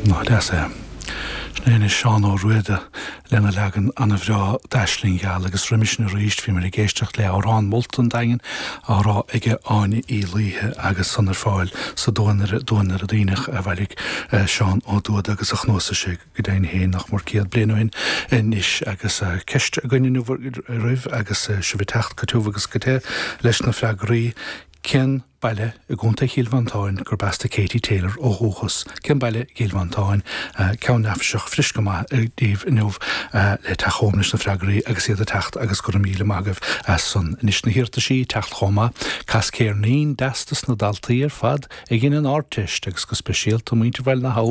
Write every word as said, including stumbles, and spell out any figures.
Nach deas é. Sin é Seán Ó Ruada lena leagan an-bhreá d'Aisling Gheal agus roimis sin arís bhí muid ag éisteacht le amhrán molta an Daingin á rá ag Áine Uí Laoithe agus san ar fáil sa duanaire duanaire daoineach a bhailigh eh, Seán Ó Dúda agus a chnuasaigh sé go deimhin féin nach mór céad bliain ó shin anois agus eh, ceist againn roimh agus eh, sibh ag teacht go tiubh agus go te leis na freagraí cén baile i gContae Chill Mhantáin gurb as do Katie Taylor ó dhúchas. Cén baile Chill Mhantáin ceann neafaiseach fris go maith daoibh inniu le teacht chugam leis na freagraí agus iad ag teacht agus go raibh míle maith agaibh as san anois na hiarrataisí ag teacht chomh maith Cas ceirnín deas dos na daltaí ar fad a dhein an Ardteist agus go speisialta muintir Bhaile na hAbha